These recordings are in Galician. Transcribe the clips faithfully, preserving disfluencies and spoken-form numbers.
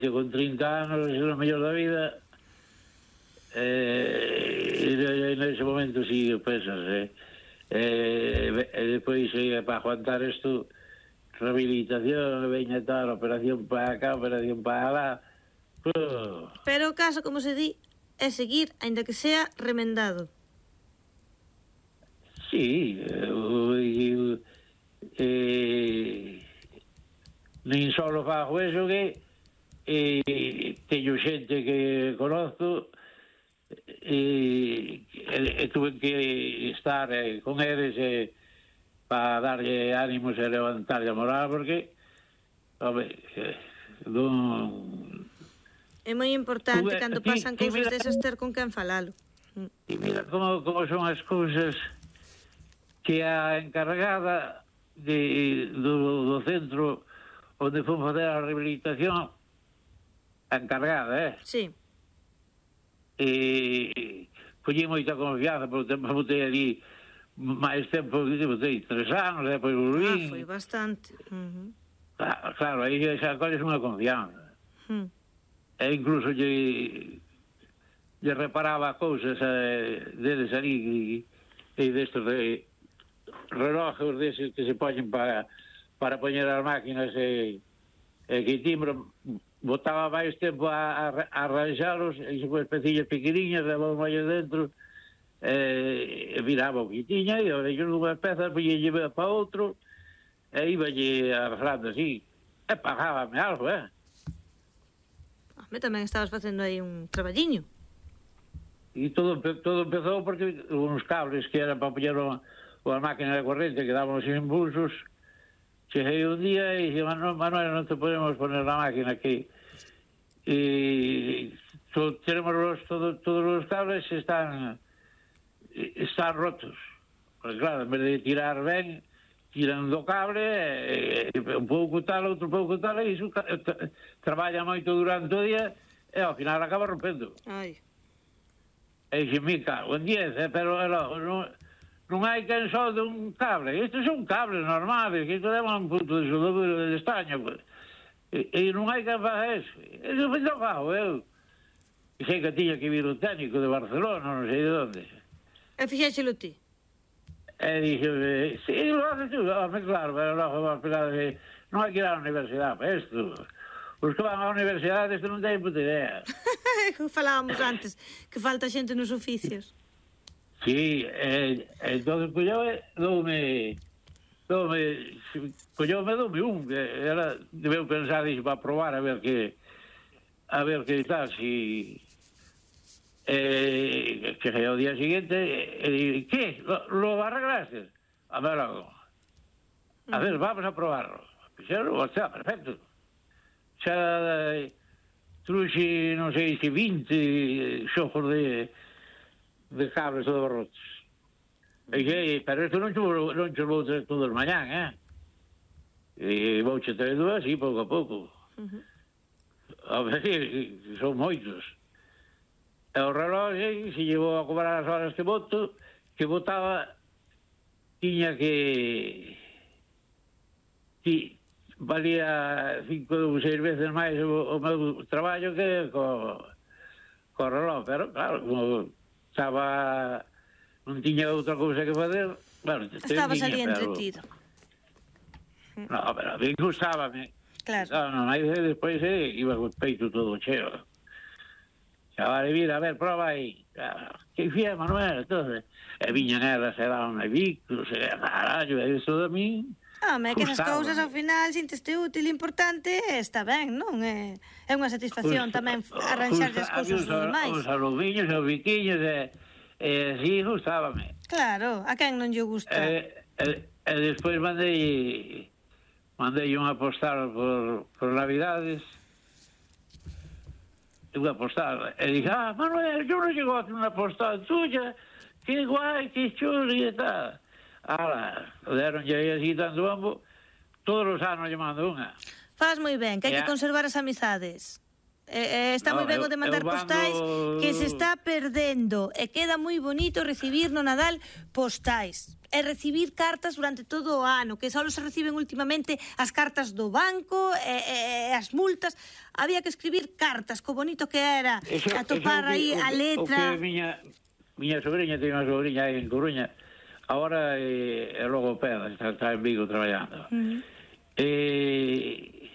yo con trinta anos, é o mellor da vida, e nese momento si pensas, eh, e depois para aguantar isto, rehabilitación, veña tal, operación para acá, operación para lá. Oh. Pero o caso, como se di, é seguir, aínda que sea remendado. Sí, eh, eh, nin solo fago eso que eh, teño xente que conozco e, e, e tuve que estar eh, con eles eh, para darlle ánimos e levantarlle a moral porque home, eh, non... É moi importante tuve, cando ti, pasan ti, cousas mira, desas ter con quen falalo. E mira como, como son as cousas que a encargada de, do, do centro onde fomos fazer a rehabilitación, a encargada, eh? Sí. E collí moita confianza, porque tempo botei ali máis tempo, botei tres anos, depois volví. Ah, foi bastante. Uh-huh. Claro, claro, aí xa colles unha confianza. Uh-huh. E incluso lle, lle reparaba cousas eh, deles ali, e destos de relojes deses que se poñen para para poñer as máquinas e, e que timbro botaba máis tempo a, a, a arranxalos e se con especillas pequeniñas levaba máis dentro e, e viraba o que tiña e ahora yo nunha peza poñe para outro e iballe arreglando así e pagábame algo, eh? Me tamén estabas facendo aí un traballiño. E todo, todo empezou porque uns cables que eran para poñer o a máquina de corriente que daban os impulsos, cheguei un día e dije, Manuel, Manuel, non te podemos poner la máquina aquí. E so, tenemos los, todo, todos os cables están están rotos. Porque claro, en vez de tirar ben, tiran do cable, e, e, un pouco tal, outro pouco tal, e iso tra, traballa moito durante o día, e ao final acaba rompendo. Ai. E dixe, mi cago en diez, eh, pero logo, non... non hai quen só de un cable. Estes son cables normales, que isto leva un punto de soldadura de estaño. E, e non hai quen faga eso. Eso foi non fago eu. E sei que tiña que vir o técnico de Barcelona, non sei de onde. E fixéxelo ti? E dixo, sí, lo haces tú, home, claro, pero logo vas pegar de... Non hai que ir á universidade para isto. Os que van á universidade isto non teñen puta idea. Falábamos antes, que falta xente nos oficios. Sí, eh, entón, collome, doume, doume, collome, doume un, que era, debeu pensar iso para probar a ver que, a ver que tal, si, eh, que ao día siguiente, e, que, lo, lo arreglaste? A ver, logo, a ver, vamos a probarlo. Fixeron, o sea, perfecto. Xa, eh, truxe, non sei, se vinte xojos de... de cables todos rotos. E que, pero isto non cho, non cho vou traer todos mañán, eh? E vou che traer dúas, así, pouco a pouco. Uh-huh. A ver, son moitos. E o reloj, se llevou a cobrar as horas que boto, que botaba, tiña que... Ti, valía cinco ou seis veces máis o, o meu traballo que co, co reloj, pero claro, como... estaba, non tiña outra cousa que fazer, bueno, estabas ali entretido. No, pero a mí gustábame. Claro. Non, aí despois eh, iba co peito todo cheo. Xa vale, mira, a ver, proba aí. Que fía, Manuel, entonces. E viñan elas, e daban a bicos, e carallo, e iso de mí. Home, que esas cousas ao final sinteste útil e importante, está ben, non? É, é unha satisfacción tamén arranxar as cousas dos demais. Os alumiños, os biquiños, e, e así gustábame. Claro, a quen non lle gusta? E, e, e despois mandei mandei unha postal por, por Navidades, unha postal, e dije, ah, Manuel, yo non chego a unha postal tuya, que guai, que chulo, e tal. Ala, deron lle así tanto bombo, todos os anos lle mando unha. Faz moi ben, que hai que conservar as amizades. Eh, eh, está moi ben o de mandar postais, que se está perdendo, e queda moi bonito recibir no Nadal postais e recibir cartas durante todo o ano, que só se reciben últimamente as cartas do banco e, e as multas. Había que escribir cartas, co bonito que era eso, atopar eso aí a letra. O que miña, miña sobrinha, ten unha sobrinha aí en Coruña, agora é, é logopeda, está, está en Vigo traballando. Uh -huh. E,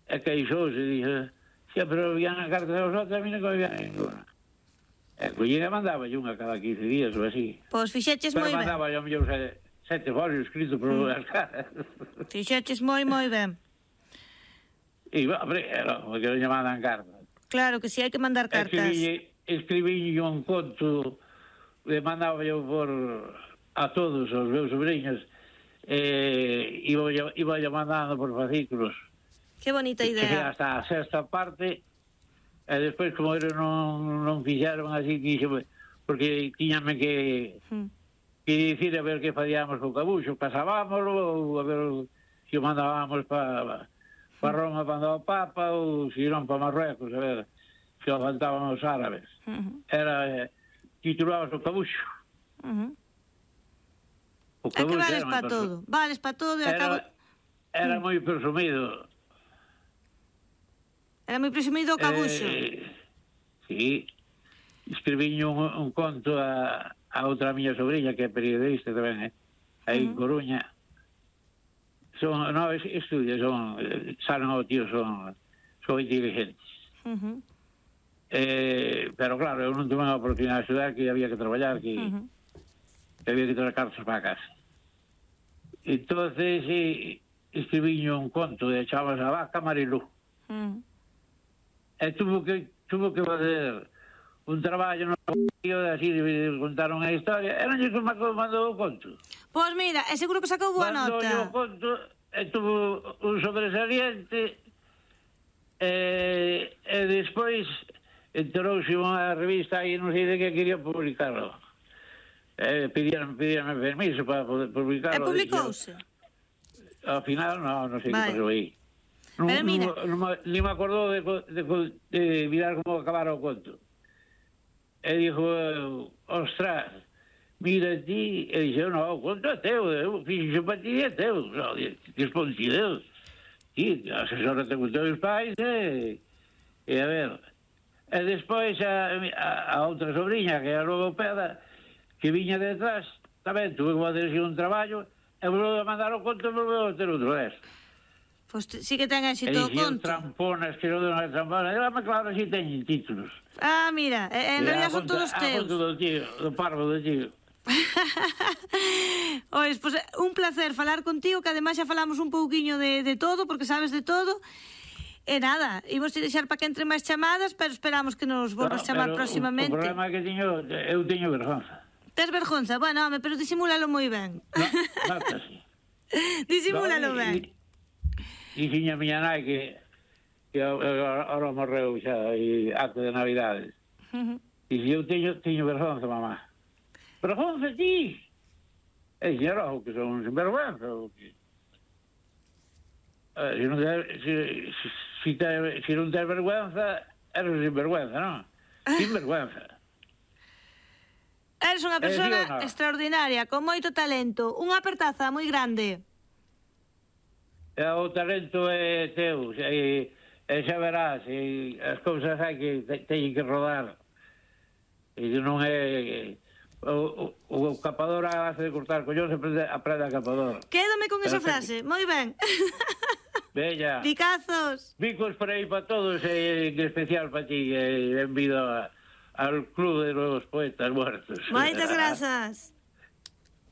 e queixouse e dixe, pero vían a carta de los outros, a mí non me vían ninguna. E collina mandaba unha cada quince días ou así. Pois fixeches moi ben. Pero mandaba yo mellor sete folios escritos por as caras. Fixeches moi, moi ben. E, hombre, era como que non lle mandan cartas. Claro que si, hai que mandar cartas. Escribí un conto, le mandaba yo por a todos os meus sobrinhos, e iba yo mandando por fascículos. Que bonita idea. Que hasta a sexta parte, e despois, como era, non, non fixeron así, dixo, porque tiñame que, hmm. que dicir a ver que facíamos co cabuxo, pasábamoslo, ou a ver se o mandábamos para pa Roma para o Papa, ou se non para Marruecos, a ver se o faltaban os árabes. Uh -huh. Era, eh, titulabas o cabuxo. Uh -huh. O cabuxo é que vales para todo, vales para todo e acabo... Era moi presumido. Era moi presumido o cabuxo. Eh, sí. Escribiño un, un conto a, a outra miña sobrinha, que é periodista tamén, eh? Aí uh -huh. en Coruña. Son, no, estudios, son, salen ao tío, son, son inteligentes. Uh -huh. eh, pero claro, eu non tuve a oportunidade de estudar, que había que traballar, que, uh -huh. que había que traer cartas para casa. Entonces, eh, escribiño un conto de chavas a vaca Marilú. Uh -huh. E tuvo que, tuvo que fazer un traballo no vídeo, así contaron a historia, e non lle que mandou o conto. Pois mira, é seguro que sacou boa nota. Mandou o conto, e tuvo un sobresaliente, e, e despois enterouse unha revista aí, non sei de que quería publicarlo. E pidían, pidían permiso para poder publicarlo. E publicouse? Ao final, non, non sei vale. que pasou aí. Non, pero mira... non, non, ni me acordou de, de, de mirar como acabara o conto. E dixo, ostras, mira ti, e dixo, no, o conto é teu, eu fixo para ti é teu. No, respondi, Deus, ti, asesora te con teus pais, e, e a ver. E despois a, a, a outra sobrinha, que era a logopeda, que viña detrás, tamén tuve que fazer un traballo, e volveu a mandar o conto e volveu a ter outro resto. Pois pues sí que ten éxito o conto. E tramponas, que non de unha trampona. E, claro, sí teñen títulos. Ah, mira, en realidad son todos teus. A conto do tío, do parvo do tío. Ois, pois pues, un placer falar contigo, que ademais xa falamos un pouquiño de, de todo, porque sabes de todo. E nada, imos te deixar para que entre máis chamadas, pero esperamos que nos volvas no, chamar próximamente. O problema que teño, eu teño vergonza. Tes vergonza? Bueno, home, pero disimúlalo moi ben. No, nada, sí. Disimúlalo no, ben. Dixiña a miña nai que, que ahora morreu xa e acto de Navidades. Uh -huh. E eu teño, teño vergonza, mamá. Vergonza ti? E dixeron que son sinvergüenza. Que... Eh, se, non te, se, se, se, te, se non tes vergüenza, eres sinvergüenza, non? Sinvergüenza. Eres unha persona eh, no? extraordinaria, con moito talento. Unha apertaza moi grande. E o talento é teu, e, e xa verás, e as cousas hai que te, teñen que rodar, e non é o, o, o capador hace de cortar collón, se aprende, aprende a capador. Quédame con esa frase, moi ben. Bella. Picazos. Bicos por aí para todos, e en especial para ti, e benvido a, al Club de los Poetas Muertos. Moitas grazas.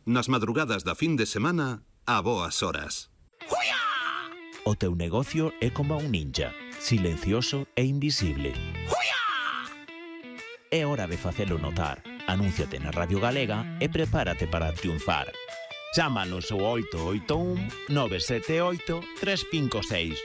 Nas madrugadas da fin de semana, a boas horas. O teu negocio é como un ninja, silencioso e invisible. É hora de facelo notar. Anúnciate na Radio Galega e prepárate para triunfar. Chámanos ao oito oito un, nove sete oito, tres cinco seis.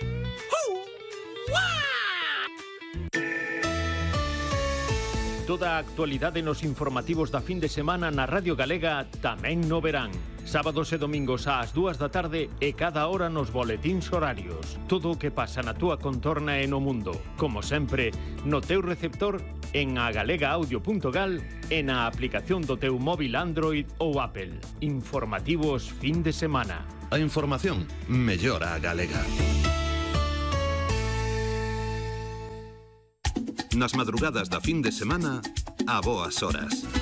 Toda a actualidade nos informativos da fin de semana na Radio Galega tamén no verán. Sábados e domingos ás dúas da tarde e cada hora nos boletíns horarios. Todo o que pasa na túa contorna e no mundo. Como sempre, no teu receptor, en agalega-audio punto gal e na aplicación do teu móvil Android ou Apple. Informativos fin de semana. A información mellora a galega. Nas madrugadas da fin de semana, a boas horas.